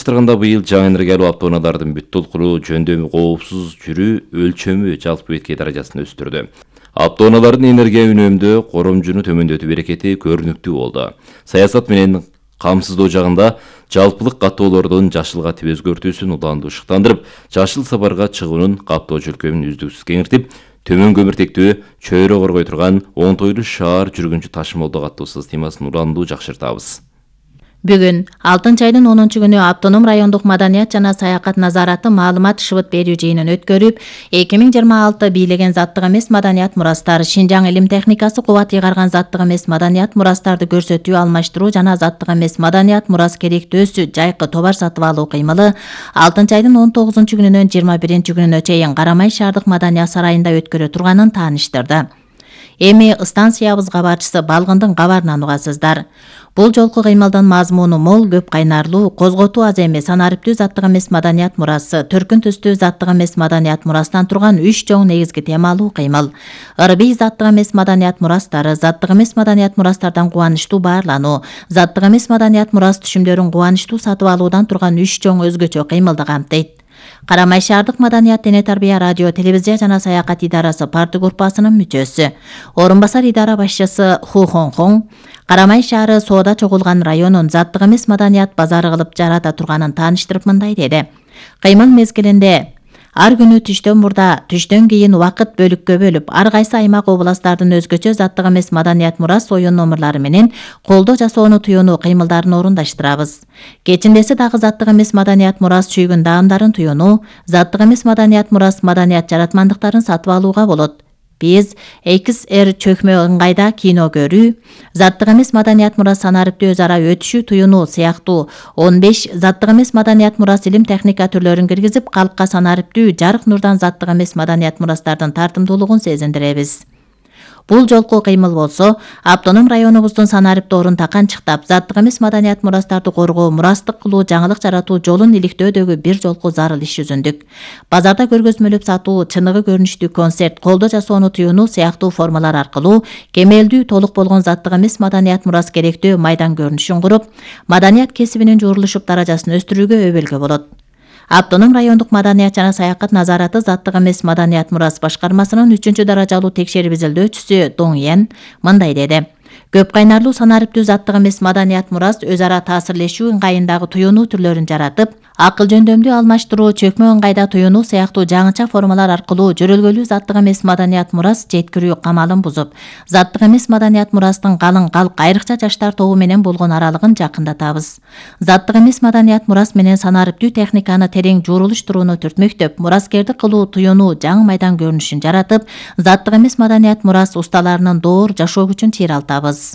Быйыл жаңы энергиялуу автоунаалардын бүт толкуруу жөндөмү коопсуз жүрүү өлчөмү жалпы бетке даражасын өстүрдү. Автоунаалардын энергия үнөмдөө коромжуну төмөндөтүү берекети көрүнүктүү болду. Саясат менен камсыздоо жагында жалпылык каттоолордун жашылга тип өзгөртүүсүн уланды ушуктандырып, жашыл сапарга чыгуунун каптоочу өлкөмүн үздүксүз кеңиртип, төмөн көмүртектүү чөйрө коргой турган оңтойлуу шаар жүргүнчү ташымалдоо каттоосуз темасын уланду жакшыртабыз. Бүгүн 6-айдын 10-күнү автоном райондук маданият жана саякат назараты маалымат шыбыт берүү жыйынын өткөрүп, 2026 бийлеген заттык эмес маданият мурастар, Шинжаң илим техникасы кубат ыйгарган заттык эмес маданият мурастарды көрсөтүү, алмаштыруу жана заттык эмес маданият мурас керектөөсү жайкы товар сатып алуу кыймылы 6-айдын 19-күнүнөн 21-күнүнө чейин Карамай шаардык маданият сарайында өткөрө турганын тааныштырды. Эми станциябыз кабарчысы Балгындын кабарынан угасыздар. Бул жолку кыймылдын мазмуну мол, көп кайнарлуу, козготуу аз эмес, санариптүү заттык эмес маданият мурасы, төркүн түстүү заттык эмес маданият мурастан турган 3 чоң негизги темалуу кыймыл. Ырбий заттык эмес маданият мурастары, заттык эмес маданият мурастардан кубанычтуу баарлануу, заттык эмес маданият мурас түшүмдөрүн кубанычтуу сатып алуудан турган 3 чоң өзгөчө кыймылды камтыйт. Карамай шаардык маданият, дене тарбия, радио, телевизия жана саякат идарасы парты группасынын мүчөсү, орун басар идара башчысы Ху Хонхон, Карамай шаары соода чогулган районун заттык эмес маданият базары кылып жарата турганын тааныштырып мындай деди. Кыймыл мезгилинде ар күнү түштөн мурда, түштөн кийин убакыт бөлүккө бөлүп, ар кайсы аймак областтардын өзгөчө заттык эмес маданият мурас оюн номурлары менен колдо жасоону туюнуу кыймылдарын орундаштырабыз. Кечиндеси дагы заттык эмес маданият мурас чүйгүн даамдарын туюнуу, заттык эмес маданият мурас маданият жаратмандыктарын сатып алууга болот. Биз XR чөкмө ыңгайда кино көрүү, заттык эмес маданият мурас санариптүү өз ара өтүшүү туюнуу сыяктуу 15 заттык эмес маданият мурас илим техника түрлөрүн киргизип, калкка санариптүү жарык нурдан заттык эмес маданият мурастардын тартымдуулугун сезиндиребиз. Бул жолку кыймыл болсо, автоном районубуздун санариптоорун таканчыктап, заттык эмес маданият мурастарды коргоо, мурастык кылуу, жаңылык жаратуу жолун иликтөөдөгү бир жолку зарыл иш жүзүндүк. Базарда көргөзмөлөп сатуу, чыныгы көрүнүштүү концерт, колдо жасоону туюнуу сыяктуу формалар аркылуу кемелдүү толук болгон заттык эмес маданият мурас керектөө майдан көрүнүшүн куруп, маданият кесибинин жуурулушуп даражасын өстүрүүгө өбөлгө болот. Автоном райондук маданият жана саякат назараты заттык эмес маданият мурас башкармасынын 3-даражалуу текшерип изилдөөчүсү Доң Йен мындай деди. Көп кайнарлуу санариптүү заттык эмес маданият мурас өз ара таасирлешүү ыңгайындагы туюнуу түрлөрүн жаратып, акыл жөндөмдүү алмаштыруу, чөкмө ыңгайда туюнуу сыяктуу жаңыча формалар аркылуу жөрөлгөлүү заттык эмес маданият мурас жеткирүү камалын бузуп, заттык эмес маданият мурастын калың калк, айрыкча жаштар тобу менен болгон аралыгын жакындатабыз. Заттык эмес маданият мурас менен санариптүү техниканы терең жуурулуштурууну түртмөктөп, мураскердик кылуу туюнуу жаңы майдан көрүнүшүн жаратып, заттык эмес маданият мурас усталарынын доор жашоо күчүн чыйралтабыз.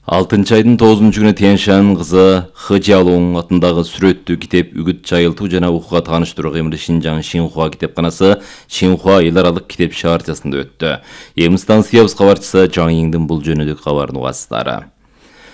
6-айдын 9-күнү Тянь-Шань кызы Хы Жиалоң атындагы сүрөттүү китеп үгүт жайылтуу жана окууга тааныштыруу кыймылы Шинжаң Шинхуа китепканасы Шинхуа эл аралык китеп шаарчасында өттү. Эми станциябыз кабарчысы Жаң Иңдин бул жөнүндө кабарын угасыздар.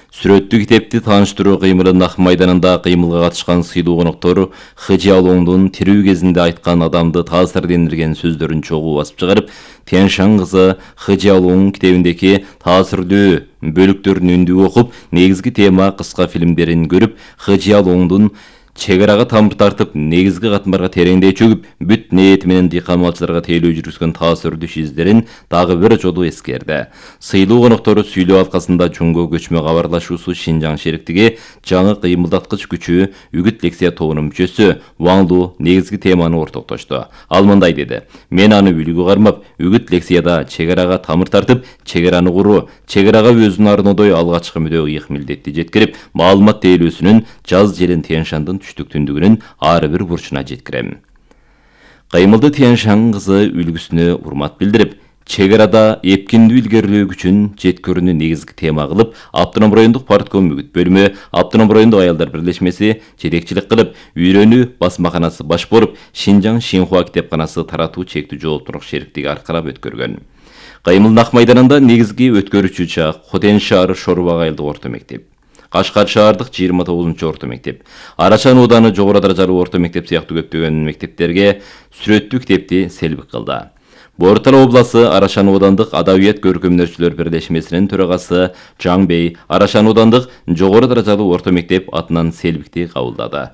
Сүрөттүү китепти тааныштыруу кыймылы Ак майданында кыймылга катышкан сыйлуу коноктор Хы Жиалоңдун тирүү кезинде айткан адамды таасирдендирген сөздөрүн чогуу басып чыгарып, Тянь-Шань кызы Хы Жиалоң китебиндеги таасирдүү бөлүктөрүн үндүү окуп, негизги тема кыска фильмдерин көрүп, Хы Жиалоңдун чек арага тамыр тартып, негизги катмарга тереңдей чөгүп, бүт ниети менен дыйкан малчыларга тейлөө жүргүзгөн таасирдүү издерин дагы бир жолу эскерди. Сыйлуу коноктору сүйлөө алкасында Жумго көчмө кабарлашуусу Шинжаң шериктиги жаңы кыймылдаткыч күчү үгүт лекция тобунун мүчөсү Ваң Лу негизги теманы ортоктошту. Ал мындай деди: "Мен аны үлгү кармап, үгүт лекцияда чек арага тамыр тартып, чек араны куруу, чек арага өзүн арнодой алгачкы мүдө ыйык милдетти жеткирип, маалымат тейлөөсүнүн жаз жерин Тянь-Шаньдын түштүк-түндүгүнүн ар бир бурчуна жеткирем." Кыймылды Тянь-Шань кызы үлгүсүнө урмат билдирип, чек арада эпкиндүү илгерилөө күчүн жеткирүүнү негизги тема кылып, автоном райондук партком үгүт бөлүмү, автоном райондук аялдар бирлешмеси жетекчилик кылып, үйрөнүү басмаканасы баш боруп, Шинжаң Шинхуа китепканасы таратуу чектүү жооптуулук шериктиги аркылап өткөргөн. Кыймылдын Ак майданында негизги өткөрүүчү жак Хотен шаары Шорбак айылдык орто мектеп, Кашкар шаардык 29-орто мектеп, Арашан ооданы жогору даражалуу орто мектеп сыяктуу көптөгөн мектептерге сүрөттүү китепти селбик кылды. Бортал обласы Арашан оодандык Адабият көркөмдөрчүлөр бирлешмесинин төрагасы Жаң Бей Арашан оодандык жогору даражалуу орто мектеп атынан селбикти кабылдады.